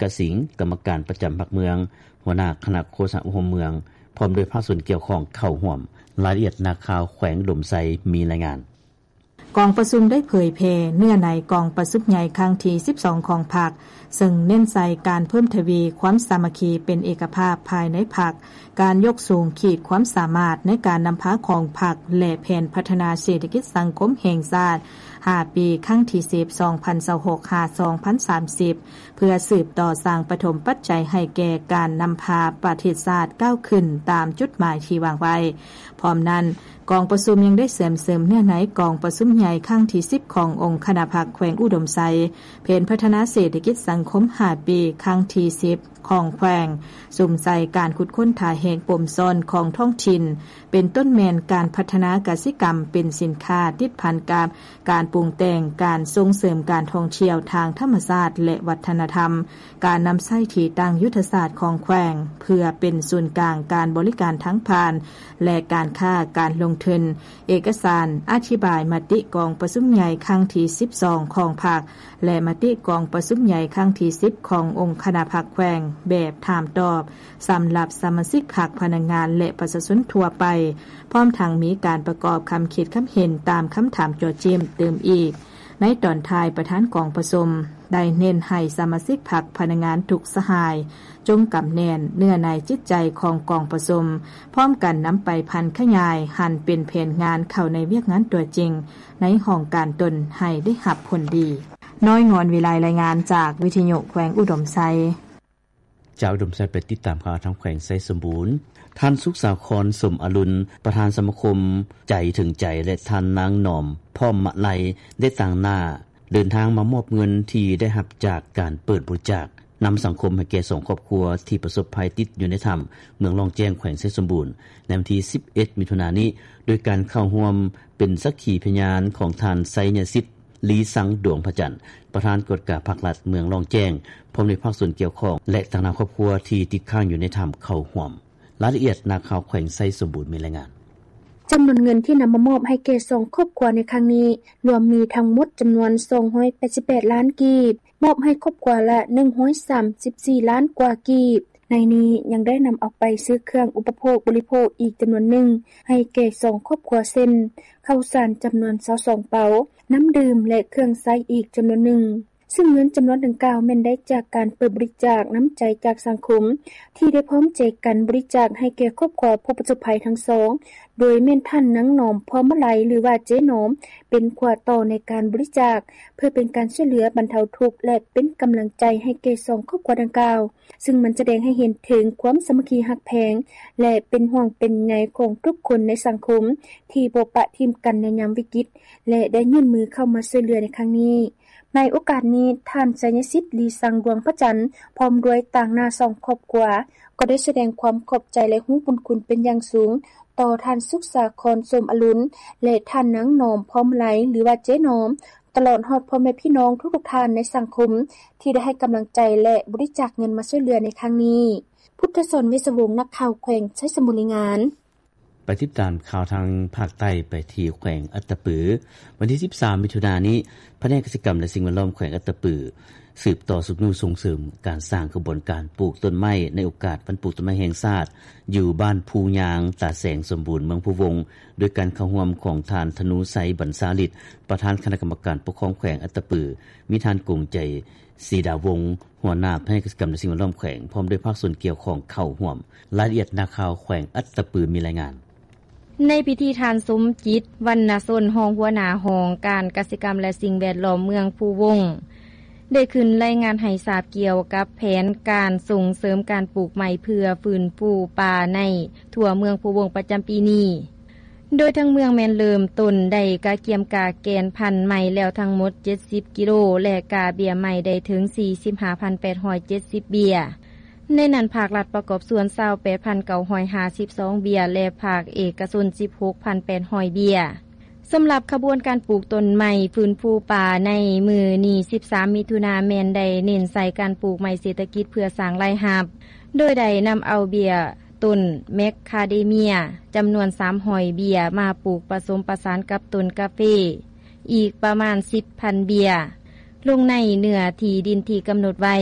ກະສິງ ກຳມະການປະຈຳພັກເມືອງ, ຫົວໜ້າຄະນະໂຄສະນາອົບຮົມເມືອງ ພ້ອມດ້ວຍພາກສ່ວນກ່ຽວຂ້ອງເຂົ້າຮ່ວມ. ລາຍລະອຽດ ນັກຂ່າວແຂວງອຸດົມໄຊ ມີລາຍງານ. ກອງປະຊຸມໄດ້ເຜີຍແຜ່ເນື້ອໃນກອງປະຊຸມໃຫຍ່ຄັ້ງທີສິບສອງຂອງພັກ ເຊິ່ງເນັ້ນໃສ່ການເພີ່ມທະວີຄວາມສາມັກຄີເປັນເອກະພາບພາຍໃນພັກ, ການຍົກສູງຂີດຄວາມສາມາດໃນການນຳພາຂອງພັກ ແລະ ແຜນພັດທະນາເສດຖະກິດສັງຄົມແຫ່ງຊາດຫ້າປີ ຄັ້ງທີສິບ ສອງພັນຊາວຫົກ ຫາ ສອງພັນສາມສິບ ເພື່ອສືບຕໍ່ສ້າງປະຖົມປັດໄຈໃຫ້ແກ່ການນຳພາປະເທດຊາດກ້າວຂຶ້ນຕາມຈຸດໝາຍທີ່ວາງໄວ້. ພ້ອມນັ້ນ, ກອງປະຊຸມຍັງໄດ້ເຊື່ອມເສີມເນື້ອໃນກອງປະຊຸມໃຫຍ່ຄັ້ງທີສິບຂອງອົງຄະນະພັກແຂວງອຸດົມໄຊ, ແຜນພັດທະນາເສດຖະກິດສັງຄົມຫ້າປີ ຄັ້ງທີສິບຂອງແຂວງ, ສຸມໃສ່ການຂຸດຄົ້ນທ່າແຮງປົມຊ່ອນຂອງທ້ອງຖິ່ນ, ເປັນຕົ້ນແມ່ນການພັດທະນາກະສິກຳເປັນສິນຄ້າຕິດພັນກັບການປຸງແຕ່ງ, ການສົ່ງເສີມການທ່ອງທ່ຽວທາງທຳມະຊາດ ແລະ ວັດທະນະທຳ, ການນຳໃຊ້ທີ່ຕັ້ງຍຸດທະສາດຂອງແຂວງ ເພື່ອເປັນສູນກາງການບໍລິການທາງຜ່ານ ແລະ ການຄ້າການລົງທຶນ. ເອກະສານອະທິບາຍມະຕິກອງປະຊຸມໃຫຍ່ຄັ້ງທີສິບສອງຂອງພັກ ແລະ ມະຕິກອງປະຊຸມໃຫຍ່ຄັ້ງທີສິບຂອງອົງຄະນະພັກແຂວງ ແບບຖາມຕອບ ສຳລັບສະມາຊິກພັກ, ພະນັກງານ ແລະ ປະຊາຊົນທົ່ວໄປ, ພ້ອມທັງມີການປະກອບຄຳຄິດຄຳເຫັນຕາມຄຳຖາມເຈາະເຈາະຕື່ມອີກ. ໃນຕອນທ້າຍ, ປະທານກອງປະຊຸມໄດ້ເນັ້ນໃຫ້ສະມາຊິກພັກ, ພະນັກງານທຸກສະຫາຍ ຈົ່ງກຳແໜ້ນເນື້ອໃນຈິດໃຈຂອງກອງປະຊຸມ, ພ້ອມກັນນຳໄປຜັນຂະຫຍາຍຫັນເປັນແຜນງານເຂົ້າໃນວຽກງານຕົວຈິງໃນຫ້ອງການຕົນໃຫ້ໄດ້ຮັບຜົນດີ. ນ້ອຍງອນວິໄລ ລາຍງານຈາກວິທະຍຸແຂວງອຸດົມໄຊ. ຈາກອຸດົມໄຊໄປຕິດຕາມຂ່າວທາງແຂວງໄຊສົມບູນ. ທ່ານ ສຸກສາຄອນ ສົມອະລຸນ ປະທານສະມາຄົມໃຈເຖິງໃຈ ແລະ ທ່ານ ນາງ ໜອມ ພ້ອມມະໄລ ໄດ້ຕາງໜ້າເດີນທາງມາມອບເງິນທີ່ໄດ້ຮັບຈາກການເປີດບໍລິຈາກ ນຳສັງຄົມໃຫ້ແກ່ສອງຄອບຄົວທີ່ປະສົບໄພຕິດຢູ່ໃນຖ້ຳ ເມືອງລ້ອງແຈ້ງ ແຂວງໄຊສົມບູນ ໃນວັນທີສິບເອັດ ມິຖຸນານີ້ ໂດຍການເຂົ້າຮ່ວມເປັນສັກຂີພະຍານຂອງທ່ານ ໄຊຍະສິດ ລີຊັງ ດວງພະຈັນ ປະທານກວດກາພັກລັດເມືອງລ້ອງແຈ້ງ ພ້ອມດ້ວຍພາກສ່ວນກ່ຽວຂ້ອງ ແລະ ຕາງໜ້າຄອບຄົວທີ່ຕິດຄ້າງຢູ່ໃນຖ້ຳເຂົ້າຮ່ວມ. ລາຍລະອຽດ ນັກຂ່າວແຂວງໄຊສົມບູນມີລາຍງານ. ຈຳນວນເງິນທີ່ນຳມາມອບໃຫ້ແກ່ສອງຄອບຄົວໃນຄັ້ງນີ້ ລວມມີທັງໝົດຈຳນວນສອງຮ້ອຍແປດສິບແປດລ້ານກີບ, ມອບໃຫ້ຄອບຄົວລະໜຶ່ງຮ້ອຍສາມສິບສີ່ລ້ານກວ່າກີບ. ໃນນີ້ຍັງໄດ້ນຳເອົາໄປຊື້ເຄື່ອງອຸປະໂພກບໍລິໂພກອີກຈຳນວນໜຶ່ງໃຫ້ແກ່ສອງຄອບຄົວ ເຊັ່ນ ເຂົ້າສານຈຳນວນຊາວສອງເປົາ, ນ້ຳດື່ມ ແລະ ເຄື່ອງໃຊ້ອີກຈຳນວນໜຶ່ງ. ຊຶ່ງເງິນຈຳນວນດັ່ງກ່າວແມ່ນໄດ້ຈາກການເປີດບໍລິຈາກນ້ຳໃຈຈາກສັງຄົມ ທີ່ໄດ້ພ້ອມໃຈກັນບໍລິຈາກໃຫ້ແກ່ຄອບຄົວຜູ້ປະສົບໄພທັງສອງ ໂດຍແມ່ນທ່ານນາງໜອມ ພ້ອມມະໄລ ຫຼືວ່າເຈໜອມ ເປັນຂົວຕໍ່ໃນການບໍລິຈາກ ເພື່ອເປັນການຊ່ວຍເຫຼືອບັນເທົາທຸກ ແລະ ເປັນກຳລັງໃຈໃຫ້ແກ່ສອງຄອບຄົວດັ່ງກ່າວ, ຊຶ່ງມັນສະແດງໃຫ້ເຫັນເຖິງຄວາມສາມັກຄີຮັກແພງ ແລະ ເປັນຫ່ວງເປັນໃຍຂອງທຸກຄົນໃນສັງຄົມ ທີ່ບໍ່ປະຖິ້ມກັນໃນຍາມວິກິດ ແລະ ໄດ້ຍື່ນມືເຂົ້າມາຊ່ວຍເຫຼືອໃນຄັ້ງນີ້. ໃນໂອກາດນີ້, ທ່ານ ໄຊຍະສິດ ລີຊັງ ດວງພະຈັນ ພ້ອມດ້ວຍຕາງໜ້າສອງຄອບຄົວ ກໍໄດ້ສະແດງຄວາມຂອບໃຈ ແລະ ຮູ້ບຸນຄຸນເປັນຢ່າງສູງຕໍ່ທ່ານ ສຸກສາຄອນ ສົມອະລຸນ ແລະ ທ່ານນາງໜອມ ພ້ອມມະໄລ ຫຼືວ່າເຈໜອມ, ຕະຫຼອດຮອດພໍ່ແມ່ພີ່ນ້ອງທຸກໆທ່ານໃນສັງຄົມ ທີ່ໄດ້ໃຫ້ກຳລັງໃຈ ແລະ ບໍລິຈາກເງິນມາຊ່ວຍເຫຼືອໃນຄັ້ງນີ້. ພຸດທະສອນ ເວດສະວົງ ນັກຂ່າວແຂວງໄຊສົມບູນ ລາຍງານ. ໄປຕິດຕາມຂ່າວທາງພາກໃຕ້ ໄປທີ່ແຂວງອັດຕະປື. ວັນທີສິບສາມ ມິຖຸນານີ້, ພະແນກກະສິກຳ ແລະ ສິ່ງແວດລ້ອມແຂວງອັດຕະປື ສືບຕໍ່ຊຸກຍູ້ສົ່ງເສີມການສ້າງຂະບວນການປູກຕົ້ນໄມ້ໃນໂອກາດວັນປູກຕົ້ນໄມ້ແຫ່ງຊາດ ຢູ່ບ້ານພູຍາງ ຕາແສງສົມບູນ ເມືອງພູວົງ ໂດຍການເຂົ້າຮ່ວມຂອງທ່ານ ທະນູໄຊ ບັນຊາລິດ ປະທານຄະນະກຳມະການປົກຄອງແຂວງອັດຕະປື, ມີທ່ານ ກົງໃຈ ສີດາວົງ ຫົວໜ້າພະແນກກະສິກຳ ແລະ ສິ່ງແວດລ້ອມແຂວງ ພ້ອມດ້ວຍພາກສ່ວນກ່ຽວຂ້ອງເຂົ້າຮ່ວມ. ລາຍລະອຽດ ນັກຂ່າວແຂວງອັດຕະປືມີລາຍງານ. ໃນພິທີ ທ່ານ ສົມຈິດ ວັນນະຊົນ ຮອງຫົວໜ້າຫ້ອງການກະສິກຳ ແລະ ສິ່ງແວດລ້ອມເມືອງພູວົງ ໄດ້ຂຶ້ນລາຍງານໃຫ້ຊາບກ່ຽວກັບແຜນການສົ່ງເສີມການປູກໄມ້ເພື່ອຟື້ນຟູປ່າໃນທົ່ວເມືອງພູວົງປະຈຳປີນີ້. ໂດຍທາງເມືອງແມ່ນເລີ່ມຕົ້ນໄດ້ກະກຽມກະແກ່ນພັນໄມ້ແລ້ວທັງໝົດເຈັດສິບກິໂລ ແລະ ກະເບ້ຍໄມ້ໄດ້ເຖິງສີ່ສິບຫ້າພັນແປດຮ້ອຍເຈັດສິບເບ້ຍ, ໃນນັ້ນພາກລັດປະກອບສ່ວນຊາວແປດພັນເກົ້າຮ້ອຍຫ້າສິບສອງເບ້ຍ ແລະ ພາກເອກະຊົນສິບຫົກພັນແປດຮ້ອຍເບ້ຍ. ສຳລັບຂະບວນການປູກຕົ້ນໄມ້ຟື້ນຟູປ່າໃນມື້ນີ້ ສິບສາມ ມິຖຸນາ ແມ່ນໄດ້ເນັ້ນໃສ່ການປູກໄມ້ເສດຖະກິດເພື່ອສ້າງລາຍຮັບ, ໂດຍໄດ້ນຳເອົາເບ້ຍ ຕົ້ນແມກຄາເດເມຍ ຈຳນວນສາມຮ້ອຍເບ້ຍ ມາປູກປະສົມປະສານກັບຕົ້ນກາເຟ ອີກປະມານສິບພັນເບ້ຍ ລົງໃນເນື້ອທີ່ດິນທີ່ກຳນົດໄວ້.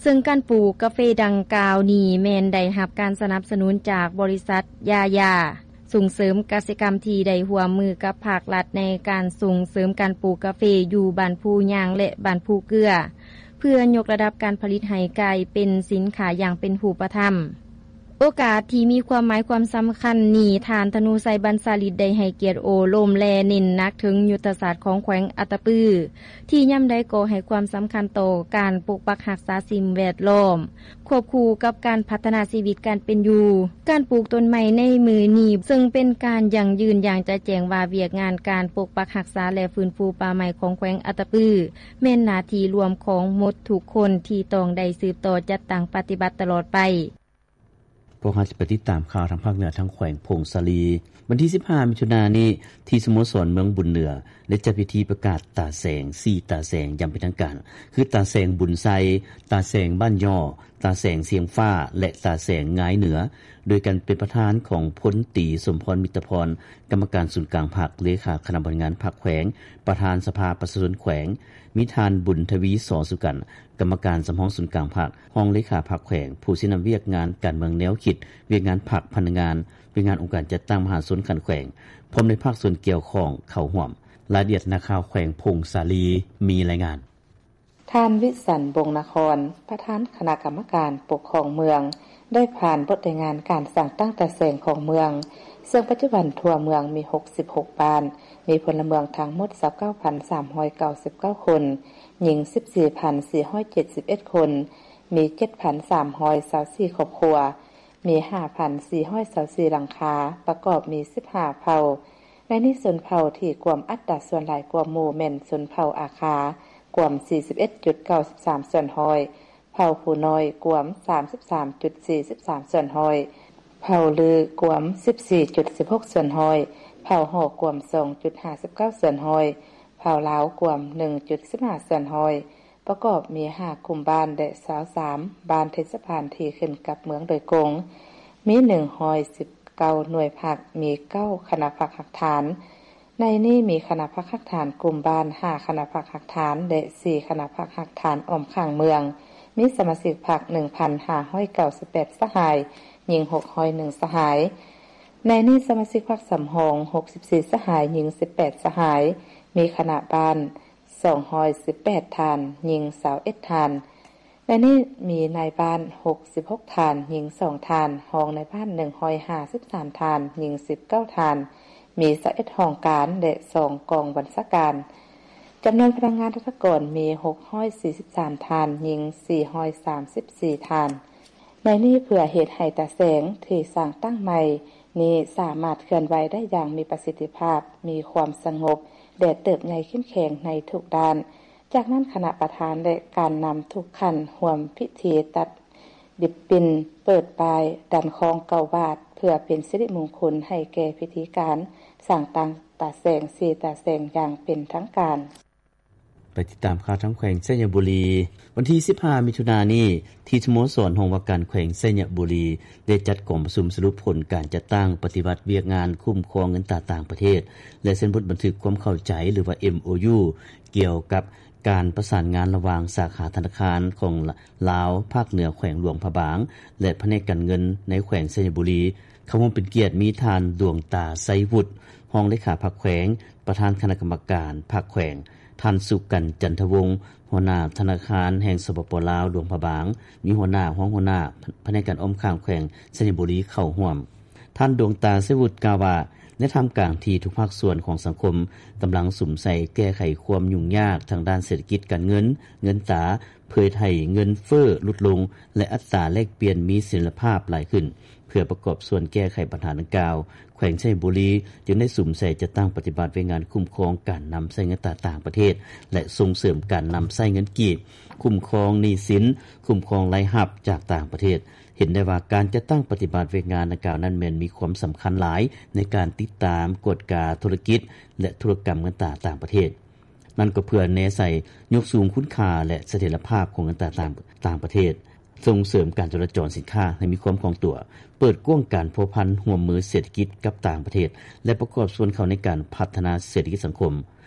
ເຊິ່ງການປູກກາເຟດັ່ງກ່າວນີ້ ແມ່ນໄດ້ຮັບການສະໜັບສະໜູນຈາກບໍລິສັດຢາຢາສົ່ງເສີມກະສິກຳ ທີ່ໄດ້ຮ່ວມມືກັບພາກລັດ ໃນການສົ່ງເສີມການປູກກາເຟ ຢູ່ບ້ານພູຍາງ ແລະ ບ້ານພູເກືອ ເພື່ອຍົກລະດັບການຜະລິດໃຫ້ກາຍເປັນສິນຄ້າຢ່າງເປັນຮູບປະທຳ. ໂອກາດທີ່ມີຄວາມໝາຍຄວາມສຳຄັນນີ້, ທ່ານ ທະນູໄຊ ບັນຊາລິດ ໄດ້ໃຫ້ກຽດໂອ້ລົມ ແລະ ເນັ້ນໜັກເຖິງຍຸດທະສາດຂອງແຂວງອັດຕະປື ທີ່ຍາມໃດກໍໃຫ້ຄວາມສຳຄັນຕໍ່ການປົກປັກຮັກສາສິ່ງແວດລ້ອມ ຄວບຄູ່ກັບການພັດທະນາຊີວິດການເປັນຢູ່. ການປູກຕົ້ນໄມ້ໃນມື້ນີ້ ເຊິ່ງເປັນການຢັ້ງຢືນຢ່າງຈະແຈ້ງວ່າ ວຽກງານການປົກປັກຮັກສາ ແລະ ຟື້ນຟູປ່າໄມ້ຂອງແຂວງອັດຕະປື ແມ່ນໜ້າທີ່ລວມຂອງໝົດທຸກຄົນ ທີ່ຕ້ອງໄດ້ສືບຕໍ່ຈັດຕັ້ງປະຕິບັດຕະຫຼອດໄປ. ພວກເຮົາຈະໄປຕິດຕາມຂ່າວທາງພາກເໜືອ ທາງແຂວງຜົ້ງສາລີ. ວັນທີສິບຫ້າ ມິຖຸນານີ້ ທີ່ສະໂມສອນເມືອງບຸນເໜືອ ໄດ້ຈັດພິທີປະກາດຕາແສງ ສີ່ຕາແສງຢ່າງເປັນທາງການ ຄື ຕາແສງບຸນໄຊ, ຕາແສງບ້ານຍໍ້, ຕາແສງຊຽງຟ້າ ແລະ ຕາແສງງາຍເໜືອ ໂດຍການເປັນປະທານຂອງ ພົນຕີ ສົມພອນ ມິດຕະພອນ ກຳມະການສູນກາງພັກ, ເລຂາຄະນະບໍລິຫານງານພັກແຂວງ, ປະທານສະພາປະຊາຊົນແຂວງ, ມີທ່ານ ບຸນທະວີ ສໍສຸກັນ ກຳມະການສຳຮອງສູນກາງພັກ, ຮອງເລຂາພັກແຂວງ, ຜູ້ຊີ້ນຳວຽກງານການເມືອງແນວຄິດ, ວຽກງານພັກ, ພະນັກງານ, ວຽກງານອົງການຈັດຕັ້ງມະຫາຊົນຂັ້ນແຂວງ ພ້ອມດ້ວຍພາກສ່ວນກ່ຽວຂ້ອງເຂົ້າຮ່ວມ. ລາຍລະອຽດ ນັກຂ່າວແຂວງຜົ້ງສາລີມີລາຍງານ. ທ່ານ ວິສັນ ບົງນະຄອນ ປະທານຄະນະກຳມະການປົກຄອງເມືອງ ໄດ້ຜ່ານບົດລາຍງານການສ້າງຕັ້ງຕາແສງຂອງເມືອງ, ເຊິ່ງປັດຈຸບັນທົ່ວເມືອງມີຫົກສິບຫົກບ້ານ, ມີພົນລະເມືອງທັງໝົດຊາວເກົ້າພັນສາມຮ້ອຍເກົ້າສິບເກົ້າຄົນ, ຍິງສິບສີ່ພັນສີ່ຮ້ອຍເຈັດສິບເອັດຄົນ, ມີເຈັດພັນສາມຮ້ອຍຊາວສີ່ຄອບຄົວ, ມີຫ້າພັນສີ່ຮ້ອຍຊາວສີ່ຫຼັງຄາ, ປະກອບມີສິບຫ້າເຜົ່າ. ໃນນີ້ຊົນເຜົ່າທີ່ກວມອັດຕາສ່ວນຫຼາຍກວ່າໝູ່ແມ່ນຊົນເຜົ່າອາຄາ ກວມສີ່ສິບເອັດຈຸດເກົ້າສິບສາມສ່ວນຮ້ອຍ, ເຜົ່າພູນ້ອຍກວມສາມສິບສາມຈຸດສີ່ສິບສາມສ່ວນຮ້ອຍ, ເຜົ່າລືກວມສິບສີ່ຈຸດສິບຫົກສ່ວນຮ້ອຍ, ເຜົ່າຫໍກວມສອງຈຸດຫ້າສິບເກົ້າສ່ວນຮ້ອຍ, ເຜົ່າລາວກວມໜຶ່ງຈຸດສິບຫ້າສ່ວນຮ້ອຍ. ປະກອບມີຫ້າກຸ່ມບ້ານ ແລະ ຊາວສາມບ້ານເທດສະບານທີ່ຂຶ້ນກັບເມືອງໂດຍກົງ, ມີໜຶ່ງຮ້ອຍສິບເກົ້າໜ່ວຍພັກ, ມີເກົ້າຄະນະພັກຮາກຖານ. ໃນນີ້ມີຄະນະພັກຮາກຖານກຸ່ມບ້ານ, ຫ້າຄະນະພັກຮາກຖານ ແລະ ສີ່ຄະນະພັກຮາກຖານອ້ອມຂ້າງເມືອງ, ມີສະມາຊິກພັກໜຶ່ງພັນຫ້າຮ້ອຍເກົ້າສິບແປດສະຫາຍ, ຍິງຫົກຮ້ອຍໜຶ່ງສະຫາຍ. ໃນນີ້ສະມາຊິກພັກສຳຮອງຫົກສິບສີ່ສະຫາຍ, ຍິງສິບແປດສະຫາຍ, ມີຄະນະບ້ານ ສອງຮ້ອຍສິບແປດທ່ານ, ຍິງຊາວເອັດທ່ານ. ໃນນີ້ມີນາຍບ້ານຫົກສິບຫົກທ່ານ, ຍິງສອງທ່ານ, ຮອງນາຍບ້ານໜຶ່ງຮ້ອຍຫ້າສິບສາມທ່ານ, ຍິງສິບເກົ້າທ່ານ, ມີຊາວເອັດຫ້ອງການ ແລະ ສອງກອງບັນຊາການ. ຈຳນວນພະນັກງານລັດຖະກອນມີຫົກຮ້ອຍສີ່ສິບສາມທ່ານ, ຍິງສີ່ຮ້ອຍສາມສິບສີ່ທ່ານ. ໃນນີ້ເພື່ອເຮັດໃຫ້ຕາແສງທີ່ສ້າງຕັ້ງໃໝ່ນີ້ສາມາດເຄື່ອນໄຫວໄດ້ຢ່າງມີປະສິດທິພາບ, ມີຄວາມສະຫງົບ ແລະ ເຕີບໃຫຍ່ເຂັ້ມແຂງໃນທຸກດ້ານ. ຈາກນັ້ນຄະນະປະທານ ແລະ ການນຳທຸກຂັ້ນຮ່ວມພິທີຕັດລິບບິນ, ເປີດປ້າຍ, ດັນຄ້ອງເກົ້າບາດ ເພື່ອເປັນສິລິມຸງຄຸນໃຫ້ແກ່ພິທີການສ້າງຕັ້ງຕາແສງ ສີ່ຕາແສງຢ່າງເປັນທາງການ. ໄປຕິດຕາມຂ່າວທາງແຂວງໄຊຍະບູລີ. ວັນທີສິບຫ້າ ມິຖຸນານີ້ ທີ່ສະໂມສອນຫ້ອງວ່າການແຂວງໄຊຍະບູລີ ໄດ້ຈັດກອງປະຊຸມສະຫຼຸບຜົນການຈັດຕັ້ງປະຕິບັດວຽກງານຄຸ້ມຄອງເງິນຕາຕ່າງປະເທດ ແລະ ເຊັນບົດບັນທຶກຄວາມເຂົ້າໃຈ ຫຼືວ່າ ເອັມໂອຢູ ກ່ຽວກັບການປະສານງານລະຫວ່າງສາຂາທະນາຄານຂອງລາວພາກເໜືອແຂວງຫຼວງພະບາງ ແລະ ພະແນກການເງິນໃນແຂວງໄຊຍະບູລີ. ເຂົ້າຮ່ວມເປັນກຽດມີທ່ານ ດວງຕາ ໄຊວຸດ ຮອງເລຂາພັກແຂວງ, ປະທານຄະນະກຳມະການພັກແຂວງ, ທ່ານ ສຸກັນ ຈັນທະວົງ ຫົວໜ້າທະນາຄານແຫ່ງ ສປປ ລາວ ຫຼວງພະບາງ, ມີຫົວໜ້າ, ຮອງຫົວໜ້າພະແນກການອ້ອມຂ້າງແຂວງໄຊຍະບູລີເຂົ້າຮ່ວມ. ທ່ານ ດວງຕາ ໄຊວຸດ ກ່າວວ່າ ໃນທ່າມກາງທີ່ທຸກພາກສ່ວນຂອງສັງຄົມກຳລັງສຸມໃສ່ແກ້ໄຂຄວາມຫຍຸ້ງຍາກທາງດ້ານເສດຖະກິດການເງິນ, ເງິນຕາ, ເພື່ອເຮັດໃຫ້ເງິນເຟີ້ຫຼຸດລົງ ແລະ ອັດຕາແລກປ່ຽນມີສະເຖັຍລະພາບຫຼາຍຂຶ້ນ. ເພື່ອປະກອບສ່ວນແກ້ໄຂບັນຫາດັ່ງກ່າວ, ແຂວງໄຊຍະບູລີຈຶ່ງໄດ້ສຸມໃສ່ຈັດຕັ້ງປະຕິບັດວຽກງານຄຸ້ມຄອງການນຳໃຊ້ເງິນຕາຕ່າງປະເທດ ແລະ ສົ່ງເສີມການນຳໃຊ້ເງິນກີບ, ຄຸ້ມຄອງໜີ້ສິນ, ຄຸ້ມຄອງລາຍຮັບຈາກຕ່າງປະເທດ. ເຫັນໄດ້ວ່າການຈັດຕັ້ງປະຕິບັດວຽກງານດັ່ງກ່າວນັ້ນແມ່ນມີຄວາມສຳຄັນຫຼາຍໃນການຕິດຕາມ, ກວດກາທຸລະກິດ ແລະ ທຸລະກຳເງິນຕາຕ່າງປະເທດ. ນັ້ນກໍເພື່ອແນໃສ່ຍົກສູງຄຸນຄ່າ ແລະ ສະຖຽນລະພາບຂອງເງິນຕາຕ່າງ, ຕ່າງປະເທດ, ສົ່ງເສີມການຈະລາຈອນສິນຄ້າໃຫ້ມີຄວາມຄ່ອງຕົວ, ເປີດກວ້າງການພົວພັນຮ່ວມມືເສດຖະກິດກັບຕ່າງປະເທດ ແລະ ປະກອບສ່ວນເຂົ້າໃນການພັດທະນາເສດຖະກິດສັງຄົມ.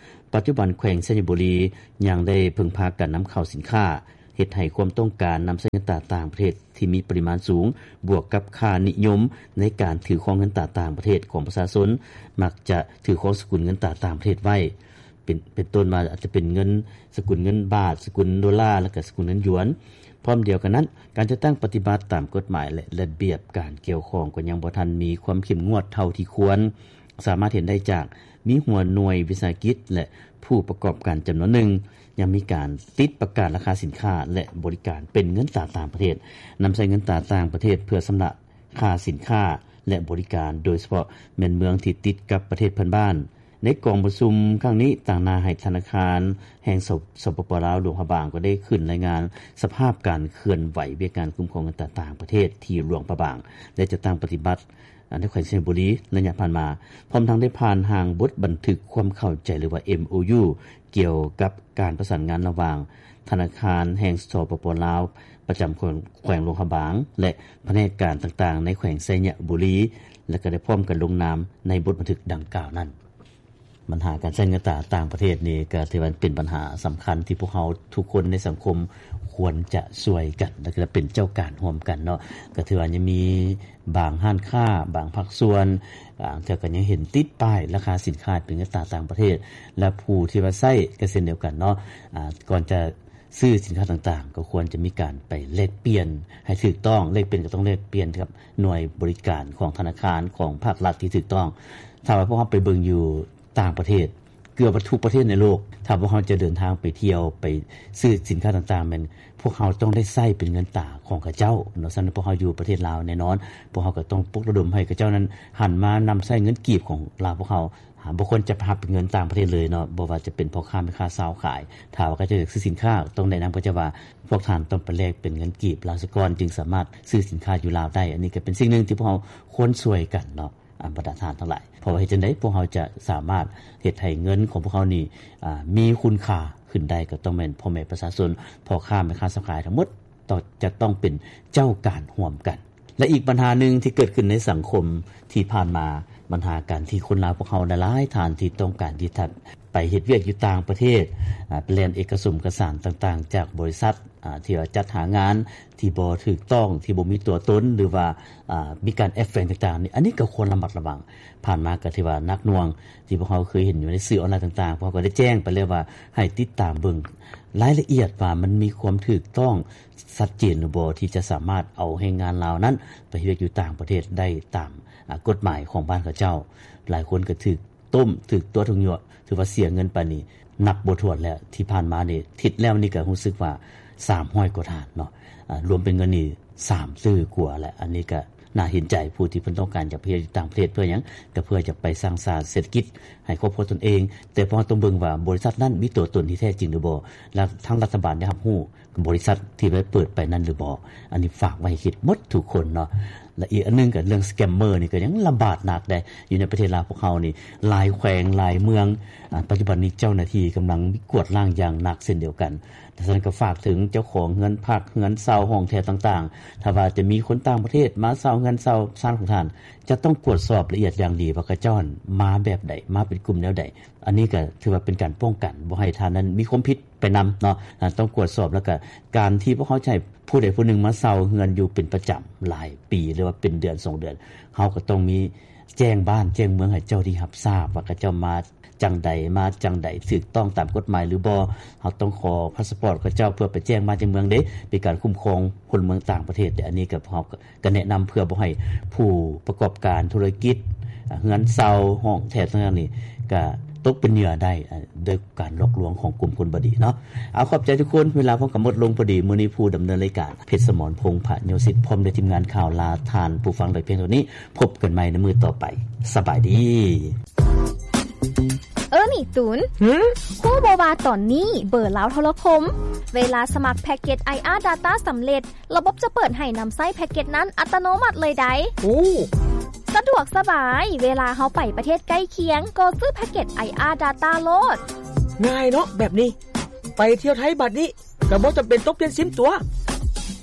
ປັດຈຸບັນແຂວງໄຊຍະບູລີຍັງໄດ້ເພິ່ງພາການນຳເຂົ້າສິນຄ້າ, ຮັດໃຫ້ຄວາມຕ້ອງການນຳໃຊ້ເງິນຕາຕ່າງປະເທດທີ່ມີປະລິມານສູງ ບວກກັບຄ່ານິຍົມໃນການຖືຄອງເງິນຕາຕ່າງປະເທດຂອງປະຊາຊົນ ມັກຈະຖືຄອງສະກຸນເງິນຕາຕ່າງປະເທດໄວ້ ເປັນ ເປັນຕົ້ນວ່າອາດຈະເປັນເງິນ ສະກຸນເງິນບາດ, ສະກຸນໂດລາ ແລະ ກະສະກຸນເງິນຢວນ. ພ້ອມດຽວກັນນັ້ນ, ການຈັດຕັ້ງປະຕິບັດຕາມກົດໝາຍ ແລະ ລະບຽບການກ່ຽວຂ້ອງກໍຍັງບໍ່ທັນມີຄວາມເຂັ້ມງວດເທົ່າທີ່ຄວນ. ສາມາດເຫັນໄດ້ຈາກມີຫົວໜ່ວຍວິສາຫະກິດ ແລະ ຜູ້ປະກອບການຈຳນວນໜຶ່ງ ຍັງມີການຕິດປະກາດລາຄາສິນຄ້າ ແລະ ບໍລິການເປັນເງິນຕາຕ່າງປະເທດ, ນຳໃຊ້ເງິນຕາຕ່າງປະເທດເພື່ອຊຳລະຄ່າສິນຄ້າ ແລະ ບໍລິການ, ໂດຍສະເພາະແມ່ນເມືອງທີ່ຕິດກັບປະເທດເພື່ອນບ້ານ. ໃນກອງປະຊຸມຄັ້ງນີ້, ຕາງໜ້າໃຫ້ທະນາຄານແຫ່ງ ສປປ ລາວ ຫຼວງພະບາງ ກໍໄດ້ຂຶ້ນລາຍງານສະພາບການເຄື່ອນໄຫວວຽກງານຄຸ້ມຄອງເງິນຕາຕ່າງປະເທດທີ່ຫຼວງພະບາງ ໄດ້ຈັດຕັ້ງປະຕິບັດ ໃນແຂວງໄຊຍະບູລີໄລຍະຜ່ານມາ, ພ້ອມທັງໄດ້ຜ່ານຮ່າງບົດບັນທຶກຄວາມເຂົ້າໃຈ ຫຼືວ່າ ເອັມໂອຢູ ກ່ຽວກັບການປະສານງານລະຫວ່າງທະນາຄານແຫ່ງ ສປປ ລາວ ປະຈຳແຂວງ ແຂວງຫຼວງພະບາງ ແລະ ພະແນກການຕ່າງໆໃນແຂວງໄຊຍະບູລີ ແລະ ກໍໄດ້ພ້ອມກັນລົງນາມໃນບົດບັນທຶກດັ່ງກ່າວນັ້ນ. ບັນຫາການໃຊ້ເງິນຕາຕ່າງປະເທດນີ້ ກໍຖືວ່າເປັນບັນຫາສຳຄັນທີ່ພວກເຮົາທຸກຄົນໃນສັງຄົມຄວນຈະຊ່ວຍກັນ ແລະ ກໍເປັນເຈົ້າການຮ່ວມກັນເນາະ. ກໍຖືວ່າຍັງມີບາງຮ້ານຄ້າ, ບາງພາກສ່ວນ, ບາງເທື່ອກໍຍັງເຫັນຕິດປ້າຍລາຄາສິນຄ້າເປັນເງິນຕາຕ່າງປະເທດ ແລະ ຜູ້ທີ່ວ່າໃຊ້ກໍເຊັ່ນດຽວກັນເນາະ. ອາ, ກ່ອນຈະ ຊື້ສິນຄ້າຕ່າງໆ ກໍຄວນຈະມີການໄປແລກປ່ຽນໃຫ້ຖືກຕ້ອງ. ແລກປ່ຽນກໍຕ້ອງແລກປ່ຽນກັບໜ່ວຍບໍລິການຂອງທະນາຄານຂອງພາກລັດທີ່ຖືກຕ້ອງ. ຖ້າວ່າພວກເຮົາໄປເບິ່ງຢູ່ຕ່າງປະເທດ ເກືອບວ່າທຸກປະເທດໃນໂລກ, ຖ້າພວກເຮົາຈະເດີນທາງໄປທ່ຽວ ໄປຊື້ສິນຄ້າຕ່າງໆ ແມ່ນພວກເຮົາຕ້ອງໄດ້ໃຊ້ເປັນເງິນຕາຂອງເຂົາເຈົ້າເນາະ. ສະນັ້ນ ພວກເຮົາຢູ່ປະເທດລາວແນ່ນອນ ພວກເຮົາກໍຕ້ອງປຸກລະດົມໃຫ້ເຂົາເຈົ້ານັ້ນຫັນມານຳໃຊ້ເງິນກີບຂອງລາວພວກເຮົາ. ບໍ່ຄວນຈະໄປຮັບເປັນເງິນຕ່າງປະເທດເລີຍເນາະ, ບໍ່ວ່າຈະເປັນພໍ່ຄ້າແມ່ຄ້າຊາວຂາຍ. ຖ້າວ່າເຂົາເຈົ້າຢາກຊື້ສິນຄ້າ ຕ້ອງແນະນຳເຂົາເຈົ້າວ່າ ພວກທ່ານຕ້ອງໄປແລກເປັນເງິນກີບລາວສາກ່ອນ ຈຶ່ງສາມາດຊື້ສິນຄ້າຢູ່ລາວໄດ້. ອັນນີ້ກໍເປັນສິ່ງໜຶ່ງທີ່ພວກເຮົາຄວນຊ່ວຍກັນເນາະ ອາ ບັນດາທ່ານທັງຫຼາຍ. ເພາະວ່າເຮັດຈັ່ງໃດພວກເຮົາຈະສາມາດເຮັດໃຫ້ເງິນຂອງພວກເຮົານີ້ ອາ ມີຄຸນຄ່າຂຶ້ນໄດ້ ກໍຕ້ອງແມ່ນພໍ່ແມ່ປະຊາຊົນ, ພໍ່ຄ້າແມ່ຄ້າຊາວຂາຍທັງໝົດ ຕ້ອງ ຈະຕ້ອງເປັນເຈົ້າການຮ່ວມກັນ. ແລະ ອີກບັນຫາໜຶ່ງທີ່ເກີດຂຶ້ນໃນສັງຄົມທີ່ຜ່ານມາ, ບັນຫາການທີ່ຄົນລາວພວກເຮົາຫຼາຍໆທ່ານທີ່ຕ້ອງການທີ່ຈະໄປເຮັດວຽກຢູ່ຕ່າງປະເທດ, ອາ, ໄປແລ່ນເອກະສົມກະສານຕ່າງໆຈາກບໍລິສັດ, ອາ, ທີ່ວ່າຈັດຫາງານທີ່ບໍ່ຖືກຕ້ອງ, ທີ່ບໍ່ມີຕົວຕົນ ຫຼືວ່າ, ອາ, ມີການແອບແຝງຕ່າງໆນີ້, ອັນນີ້ກໍຄວນລະມັດລະວັງ. ຜ່ານມາກໍຖືວ່າໜັກໜ່ວງ ທີ່ພວກເຮົາເຄີຍເຫັນຢູ່ໃນສື່ອອນລາຍຕ່າງໆ, ພວກເຮົາກໍໄດ້ແຈ້ງໄປແລ້ວວ່າໃຫ້ຕິດຕາມເບິ່ງລາຍລະອຽດວ່າມັນມີຄວາມຖືກຕ້ອງ ຊັດເຈນຫຼືບໍ່ ທີ່ຈະສາມາດເອົາແຮງງານລາວນັ້ນໄປເຮັດວຽກຢູ່ຕ່າງປະເທດໄດ້ຕາມ ອາ ກົດໝາຍຂອງບ້ານເຂົາເຈົ້າ. ຫຼາຍຄົນກໍຖືກຕົ້ມ ຖືກຕົວະ ຖືກຍົວະ ຖືວ່າເສຍເງິນໄປນີ້ນັບບໍ່ຖ້ວນແລ້ວ. ທີ່ຜ່ານມານີ້ ທິດແລ້ວນີ້ກໍຮູ້ສຶກວ່າສາມຮ້ອຍກວ່າທ່ານເນາະ, ອາ ລວມເປັນເງິນນີ້ສາມຕື້ກວ່າແລ້ວ. ອັນນີ້ກໍໜ້າເຫັນໃຈຜູ້ທີ່ເພິ່ນຕ້ອງການຈະໄປເຮັດຢູ່ຕ່າງປະເທດ. ເພື່ອຫຍັງ? ກໍເພື່ອຈະໄປສ້າງສາເສດຖະກິດໃຫ້ຄອບຄົວຕົນເອງ. ແຕ່ພວກເຮົາຕ້ອງເບິ່ງວ່າບໍລິສັດນັ້ນມີຕົວຕົນທີ່ແທ້ຈິງຫຼືບໍ່ ແລະ ທາງລັດຖະບານໄດ້ຮັບຮູ້ ບໍລິສັດທີ່ໄປເປີດໄປນັ້ນຫຼືບໍ່? ອັນນີ້ຝາກໄວ້ໃຫ້ຄິດໝົດທຸກຄົນເນາະ. ແລະ ອີກອັນໜຶ່ງກໍເລື່ອງສະແກມເມີນີ້ກໍຍັງລະບາດໜັກເດ້ ຢູ່ໃນປະເທດລາວພວກເຮົານີ້. ຫຼາຍແຂວງ ຫຼາຍເມືອງ ອາ ປັດຈຸບັນນີ້ເຈົ້າໜ້າທີ່ກຳລັງກວດລ້າງຢ່າງໜັກເຊັ່ນດຽວກັນ. ສະນັ້ນກໍຝາກເຖິງເຈົ້າຂອງເຮືອນພັກ ເຮືອນເຊົ່າ ຫ້ອງແຖວຕ່າງໆ, ຖ້າວ່າຈະມີຄົນຕ່າງປະເທດມາເຊົ່າເຮືອນເຊົ່າຊານຂອງທ່ານ ຈະຕ້ອງກວດສອບລະອຽດຢ່າງດີວ່າເຂົາເຈົ້າມາແບບໃດ ມາເປັນກຸ່ມແນວໃດ. ອັນນີ້ກໍຖືວ່າເປັນການປ້ອງກັນ ບໍ່ໃຫ້ທ່ານນັ້ນມີຄວາມຜິດ ໄປນຳເນາະ. ອາ ຕ້ອງກວດສອບ ແລ້ວກະການທີ່ພວກເຮົາຈະໃຫ້ຜູ້ໃດຜູ້ໜຶ່ງມາເຊົ່າເຮືອນຢູ່ເປັນປະຈຳຫຼາຍປີ ຫຼືວ່າເປັນເດືອນສອງເດືອນ ເຮົາກໍຕ້ອງມີແຈ້ງບ້ານແຈ້ງເມືອງໃຫ້ເຈົ້າທີ່ຮັບຊາບວ່າເຂົາເຈົ້າມາຈັ່ງໃດ ມາຈັ່ງໃດ ຖືກຕ້ອງຕາມກົດໝາຍຫຼືບໍ່. ເຮົາຕ້ອງຂໍພາສປອດເຂົາເຈົ້າເພື່ອໄປແຈ້ງບ້ານແຈ້ງເມືອງເດ້ ເປັນການຄຸ້ມຄອງພົນລະເມືອງຕ່າງປະເທດເດ້. ອັນນີ້ກໍພວກ ກໍແນະນຳເພື່ອບໍ່ໃຫ້ຜູ້ປະກອບການທຸລະກິດ ເຮືອນເຊົ່າ ຫ້ອງແຖວຕ່າງໆນີ້ ກໍຕົກເປັນເຫຍື່ອໄດ້ ໂດຍການຫຼອກລວງຂອງກຸ່ມຄົນບໍ່ດີເນາະ. ເອົາ ຂອບໃຈທຸກຄົນ, ເວລາພວມກໍໝົດລົງພໍດີ. ມື້ນີ້ຜູ້ດຳເນີນລາຍການ ເພັດສະໝອນ ພົງພະໂຍສິດ ພ້ອມດ້ວຍທີມງານຂ່າວ ລາທ່ານຜູ້ຟັງໄດ້ພຽງເທົ່ານີ້. ພົບກັນໃໝ່ໃນມື້ຕໍ່ໄປ. ສະບາຍດີ. ເອີ ນີ້ຕູນ. ຫື? ຮູ້ບໍ່ວ່າຕອນນີ້ເບີລາວໂທລະຄົມ ເວລາສະໝັກແພັກເກັດ ໄອອາ Data ສຳເລັດ, ລະບົບຈະເປີດໃຫ້ນຳໃຊ້ແພັກເກັດນັ້ນອັດຕະໂນມັດເລີຍໃດ໋. ໂອ້ ສະດວກສະບາຍ, ເວລາເຮົາໄປປະເທດໃກ້ຄຽງ ກໍຊື້ແພັກເກັດ ໄອອາ Data ໂລດ. ງ່າຍເນາະແບບນີ້, ໄປທ່ຽວໄທບາດນີ້ ກໍບໍ່ຈຳເປັນຕ້ອງປ່ຽນຊິມຕົວະ.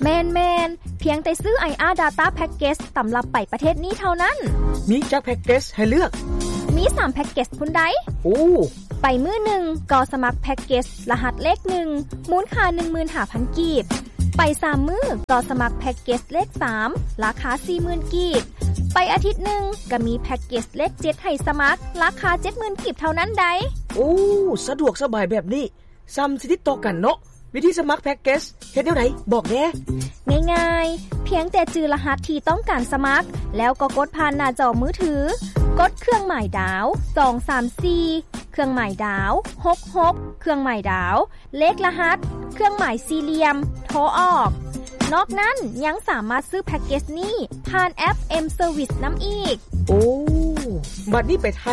ແມ່ນໆ, ພຽງແຕ່ຊື້ ໄອອາ Data Package ສຳລັບໄປປະເທດນີ້ເທົ່ານັ້ນ. ມີຈັກແພັກເກັດໃຫ້ເລືອກ? ມີສາມແພັກເກັດພຸ້ນໃດ໋. ໂອ້ ໄປມື້ໜຶ່ງກໍສະໝັກແພັກເກັດລະຫັດເລກໜຶ່ງ ມູນຄ່າໜຶ່ງໝື່ນຫ້າພັນກີບ. ໄປສາມມື້ກໍສະໝັກແພັກເກັດເລກສາມ ລາຄາສີ່ໝື່ນກີບ. ໄປອາທິດໜຶ່ງກໍມີແພັກເກັດເລກເຈັດໃຫ້ສະໝັກ ລາຄາເຈັດໝື່ນກີບເທົ່ານັ້ນໃດ໋. ໂອ້ ສະດວກສະບາຍແບບນີ້ ສ່ຳຊິຕິດຕໍ່ກັນເນາະ. ວິທີສະໝັກແພັກເກັດເຮັດແນວໃດ ບອກແດ່. ງ່າຍໆ ພຽງແຕ່ຈື່ລະຫັດທີ່ຕ້ອງການສະໝັກ ແລ້ວກໍກົດຜ່ານໜ້າຈໍມືຖື, ກົດເຄື່ອງໝາຍດາວ ສອງສາມສີ່ ເຄື່ອງໝາຍດາວ ຫົກຫົກ ເຄື່ອງໝາຍດາວ ເລກລະຫັດ ເຄື່ອງໝາຍສີ່ຫຼ່ຽມ ໂທອອກ. ນອກນັ້ນຍັງສາມາດຊື້ແພັກເກັດນີ້ຜ່ານແອັບ M Service ນຳອີກ. ໂອ້ ບັດນີ້ໄປໄທ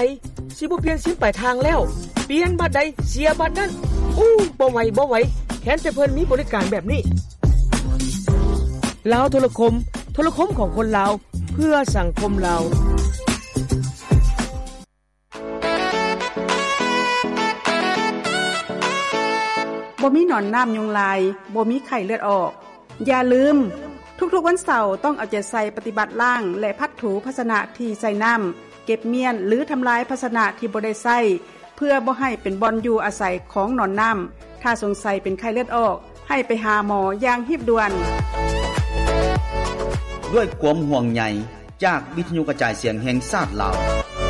ຊິບໍ່ປ່ຽນຊິມປາຍທາງແລ້ວ, ປ່ຽນບັດໃດເສຍບັດນັ້ນ. ໂອ້ ບໍ່ໄຫວ ບໍ່ໄຫວ ແຄ້ນແຕ່ເພິ່ນມີບໍລິການແບບນີ້. ລາວໂທລະຄົມ, ໂທລະຄົມຂອງຄົນລາວ ເພື່ອສັງຄົມລາວ. ບໍ່ມີໜອນນ້ຳຍຸງລາຍ, ບໍ່ມີໄຂ້ເລືອດອອກ. ຢ່າລືມ, ທຸກໆວັນເສົາຕ້ອງເອົາໃຈໃສ່ປະຕິບັດລ້າງ ແລະ ພັດຖູພາຊະນະທີ່ໃສ່ນ້ຳ, ເກັບມ້ຽນ ຫຼື ທຳລາຍພາຊະນະທີ່ບໍ່ໄດ້ໃຊ້ ເພື່ອບໍ່ໃຫ້ເປັນບ່ອນຢູ່ອາໄສຂອງໜອນນ້ຳ. ຖ້າສົງໄສເປັນໄຂ້ເລືອດອອກ, ໃຫ້ໄປຫາໝໍຢ່າງຮີບດ່ວນ. ດ້ວຍຄວາມຫ່ວງໃຍຈາກວິທະຍຸກະຈາຍສຽງແຫ່ງຊາດລາວ.